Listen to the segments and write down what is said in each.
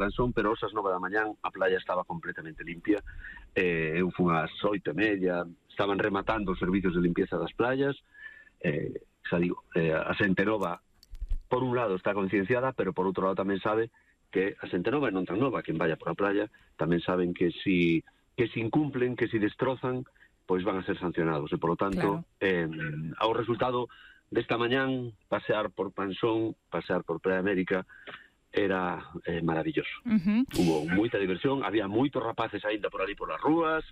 Lanzón, pero aos 9 da mañán a playa estaba completamente limpia. Eu fui ás 8:30, estaban rematando os servicios de limpieza das playas. Xa digo, a xente nova, por un lado, está concienciada, pero por outro lado tamén sabe que a xente nova e non tan nova, quen vaya por a playa, tamén saben que si incumplen, que si destrozan, pois van a ser sancionados. E, polo tanto, ao resultado desta mañán, pasear por Pansón, pasear por Praia América, era maravilloso. Hubo moita diversión, había moitos rapaces aínda por ali por as rúas,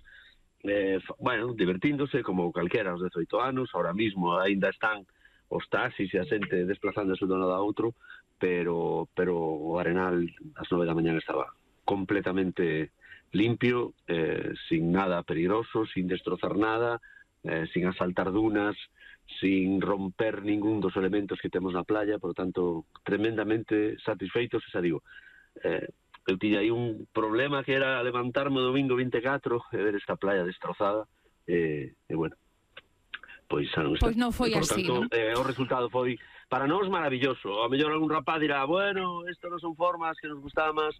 divertíndose como calquera aos 18 anos. Ahora mismo aínda están os taxis e a xente desplazándose de un lado a outro, pero o Arenal ás 9 da mañán estaba completamente limpio, sin nada peligroso, sin destrozar nada, sin asaltar dunas, sin romper ningún dos elementos que temos na playa. Por lo tanto, tremendamente satisfeitos. Xa digo, eu tiña aí un problema que era levantarme o domingo 24 e ver esta playa destrozada, e bueno, pois xa non está. Pois non foi así, non? O resultado foi para nós maravilloso. A mellor algún rapaz dirá, bueno, isto non son formas que nos gustaba máis,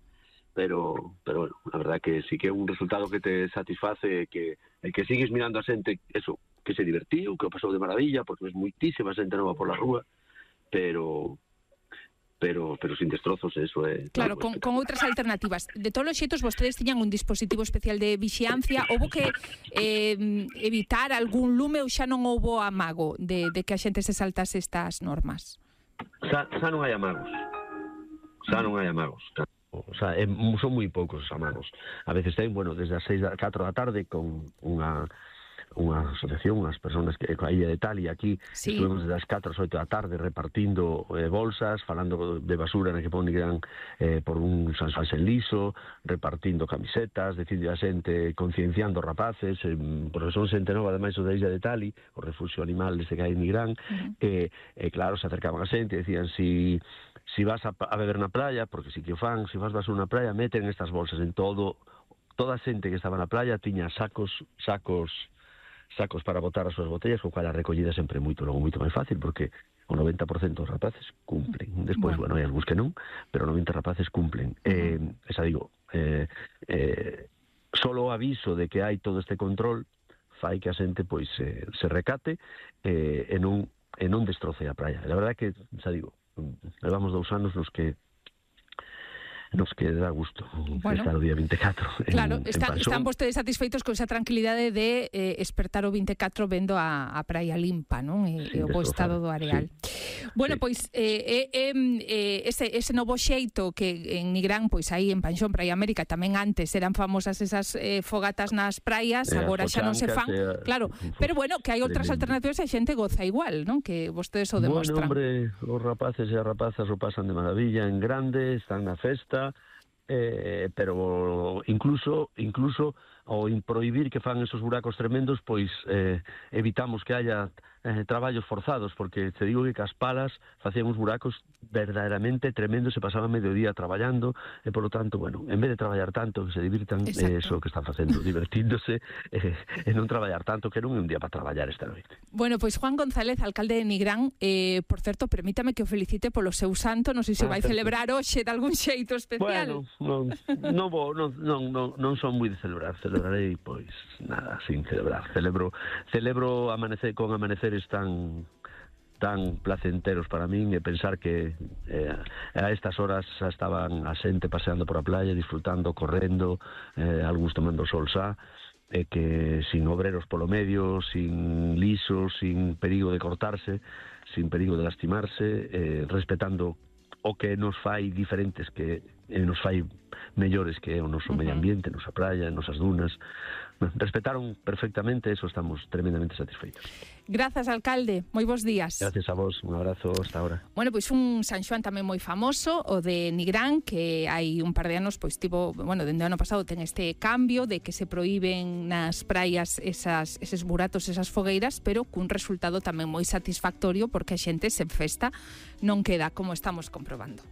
pero bueno, a verdad que sí que é un resultado que te satisface, que sigues mirando a xente, eso, que se divertiu, que o pasou de maravilla, porque ves moitísima xente nova por la rúa, pero sin destrozos, eso é... Claro, con outras alternativas. De todos os xeitos, vostedes tiñan un dispositivo especial de vixiancia. Houbo que evitar algún lume ou xa non houbo amago de que a xente se saltase estas normas? Xa non hai amagos. O sea, son moi poucos os amagos. A veces ten, desde as 4 da tarde con unha asociación, unhas persoas que a Illa de Tali aquí, estuvemos desde as 4 ás 8 da tarde repartindo bolsas, falando de basura na que ponían por un San Xoán liso, repartindo camisetas, dicindo a xente, concienciando rapaces, porque son xente nova, ademais o da Illa de Tali, o refugio animal dese que hai en Nigrán, e claro, se acercaban a xente e decían, si vas a beber na playa, porque si que o fan, se vas basura na playa, meten estas bolsas en toda a xente que estaba na playa tiña sacos para botar as súas botellas, co cual a recollida sempre moito máis fácil, porque o 90% dos rapaces cumplen. Despois, hai algúns que non, pero o 90% rapaces cumplen. Xa digo, solo o aviso de que hai todo este control fai que a xente pois se recate e non destroce a praia. A verdade é que, xa digo, levamos 2 anos nos que dá gusto estar o día 24 claro, están vostedes satisfeitos con esa tranquilidade de espertar o 24 vendo a praia limpa, non? E o bo estado do areal. Bueno, pois ese novo xeito que en Nigrán, pois aí en Panxón, Praia América, tamén antes eran famosas esas fogatas nas praias, agora xa non se fan, claro, pero bueno, que hai outras alternativas e a xente goza igual, non? Que vostedes o demostran. Bueno, hombre, os rapaces e as rapazas o pasan de maravilla en grande, están na festa, pero incluso ao prohibir que fan esos buracos tremendos, pois evitamos que haya traballos forzados, porque te digo que as palas facían uns buracos verdadeiramente tremendos, se pasaban medio día traballando, e polo tanto, en vez de traballar tanto, que se divirtan, eso que están facendo, divertíndose, e non traballar tanto, que non é un día para traballar esta noite. Bueno, pois Juan González, alcalde de Nigrán, por certo, permítame que o felicite polo seu santo, non sei se vai celebrar hoxe de algún xeito especial. Bueno, non son moi de celebrar, celebrarei, pois, nada, sin celebrar. Celebro amanecer con amaneceres tan placenteros para min, e pensar que a estas horas xa estaban a xente paseando por a playa, disfrutando, correndo, algúns tomando sol xa, e que sin obreros polo medio, sin lisos, sin perigo de cortarse, sin perigo de lastimarse, respetando o que nos fai diferentes, que nos fai mellores, que é o noso medio ambiente, nosa praia, nosas dunas. Respetaron perfectamente, eso estamos tremendamente satisfeitos. Grazas, alcalde, moi bons días. Gracias a vos, un abrazo hasta ahora. Bueno, pois un San Xoán tamén moi famoso, o de Nigrán, que hai un par de anos, pois tivo, dende o ano pasado ten este cambio de que se prohíben nas praias eses buratos, esas fogueiras, pero cun resultado tamén moi satisfactorio, porque a xente se festa, non queda como estamos comprobando.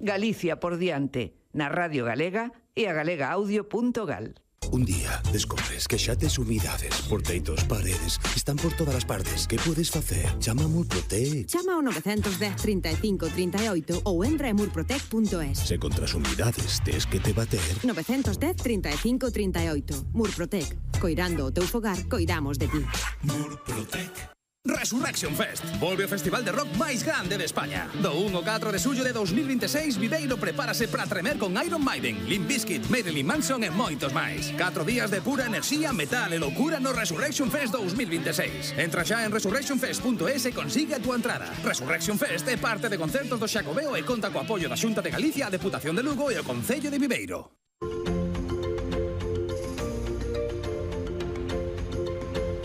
Galicia por diante, na Radio Galega e a galegaaudio.gal. Un día descubres que xa tes humidades por teitos, paredes, están por todas as partes. Que podes facer? Chama a Murprotec. Chama ao 910 35 38 ou entra en murprotec.es. Se contra as humidades tes que te bater. 910 35 38. Murprotec. Coirando o teu fogar, coidamos de ti. Murprotec. Resurrection Fest. Volve o festival de rock máis grande de España. Do 1 ao 4 de xullo de 2026, Viveiro prepárase para tremer con Iron Maiden, Limp Bizkit, Marilyn Manson e moitos máis. 4 días de pura enerxía, metal e loucura no Resurrection Fest 2026. Entra xa en resurrectionfest.es e consigue a túa entrada. Resurrection Fest é parte de concertos do Xacobeo e conta co apoio da Xunta de Galicia, a Deputación de Lugo e o Concello de Viveiro.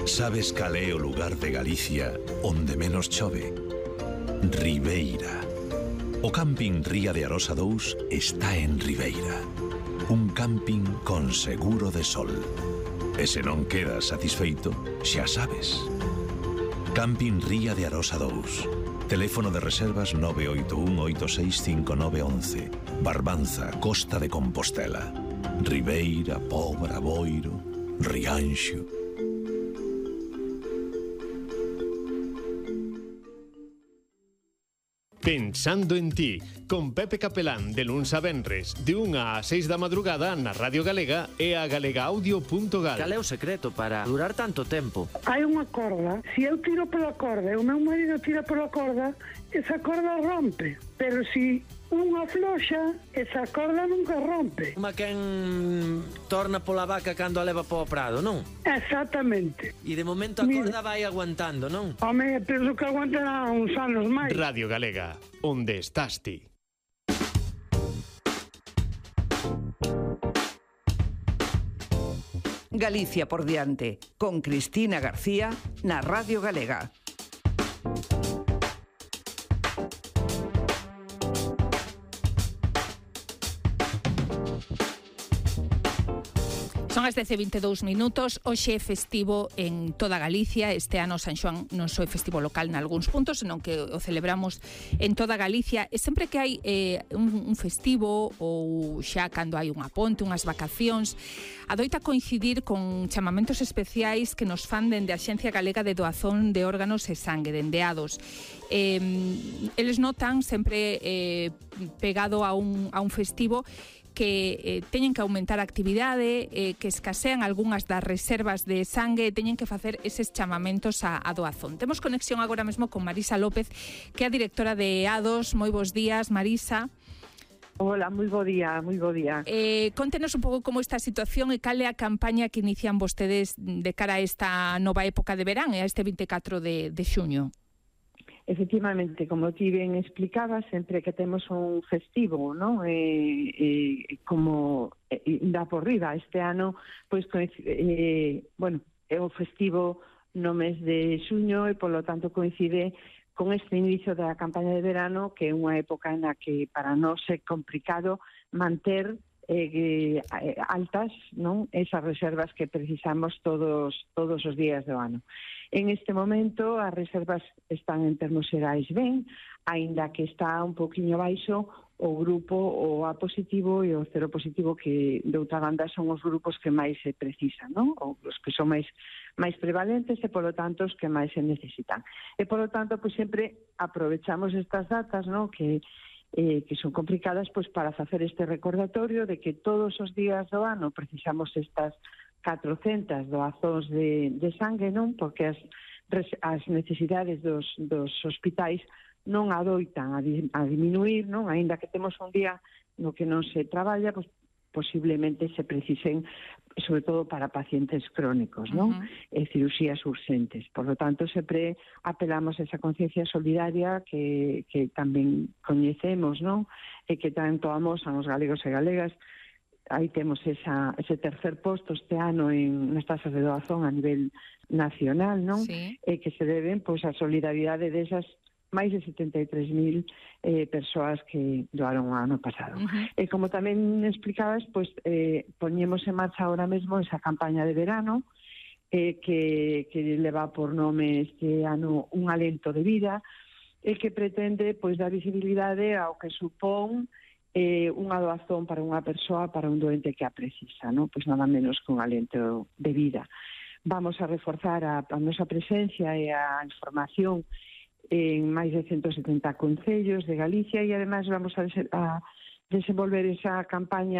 Sabes cal é o lugar de Galicia onde menos chove? Ribeira. O camping Ría de Arosa 2 está en Ribeira. Un camping con seguro de sol. E se non quedas satisfeito, xa sabes. Camping Ría de Arosa 2. Teléfono de reservas 981-865911. Barbanza, Costa de Compostela. Ribeira, Pobra, Boiro, Rianxo. Pensando en ti, con Pepe Capelán, de luns a venres, de 1 a 6 da madrugada na Radio Galega e a galegaaudio.gal. Cal é o secreto para durar tanto tempo? Hai unha corda, se eu tiro pola corda e o meu marido tira pola corda, esa corda rompe, pero se unha floxa, esa corda nunca rompe. Uma quen torna pola vaca cando a leva po prado, non? Exactamente. E de momento a corda vai aguantando, non? Home, penso que aguantará uns anos máis. Radio Galega, onde estás ti? Galicia por diante, con Cristina García na Radio Galega. Son as 10:22 minutos. Hoxe é festivo en toda Galicia. Este ano San Xoán non só é festivo local nalgúns puntos, senón que o celebramos en toda Galicia. E sempre que hai un festivo ou xa cando hai unha ponte, unhas vacacións, adoita coincidir con chamamentos especiais que nos fan dende a Axencia Galega de Doazón de Órganos e Sangue, dende ADOS. Eles notan sempre pegado a un festivo que teñen que aumentar a actividade, que escasean algunhas das reservas de sangue e teñen que facer eses chamamentos a doazón. Temos conexión agora mesmo con Marisa López, que é a directora de ADOS. Moi bons días, Marisa. Hola, moi bo día, moi bo día. Contenos un pouco como está a situación e cal é a campaña que inician vostedes de cara a esta nova época de verán e a este 24 de xuño. Efectivamente, como ti ben explicabas, sempre que temos un festivo, ¿no? Como dá por riba este ano, pois bueno, é o festivo no mes de xuño e polo tanto coincide con este inicio da campaña de verano, que é unha época na que para nós é complicado manter altas, non, esas reservas que precisamos todos os días do ano. En este momento as reservas están en termos xerais ben, aínda que está un poquinho baixo o grupo o A positivo e o cero positivo, que de outra banda son os grupos que máis se precisan, non? Ou os que son máis prevalentes e polo tanto os que máis se necesitan. E polo tanto, pois sempre aprovechamos estas datas, non? Que son complicadas, pois para facer este recordatorio de que todos os días do ano precisamos estas 400 doazóns de sangue, non? Porque as necesidades dos hospitais non adoitan a diminuir, non? Aínda que temos un día no que non se traballa, pois posiblemente se precisen, sobre todo para pacientes crónicos, non? Cirurxías urxentes. Por lo tanto, sempre apelamos a esa conciencia solidaria que tamén coñecemos, non? E que tanto amosan os galegos e galegas. Aí temos ese tercer posto este ano nas tasas de doazón a nivel nacional, non? Sí. E que se deben pois a solidaridade desas máis de 73.000 persoas que doaron o ano pasado. E como tamén explicabas, pois poñemos en marcha ahora mesmo esa campaña de verano que leva por nome este ano Un alento de vida, e que pretende pois dar visibilidade ao que supón unha doazón para unha persoa, para un doente que a precisa, non? Pois nada menos que un alento de vida. Vamos a reforzar a nosa presencia e a información en máis de 170 concellos de Galicia e ademais vamos a desenvolver esa campaña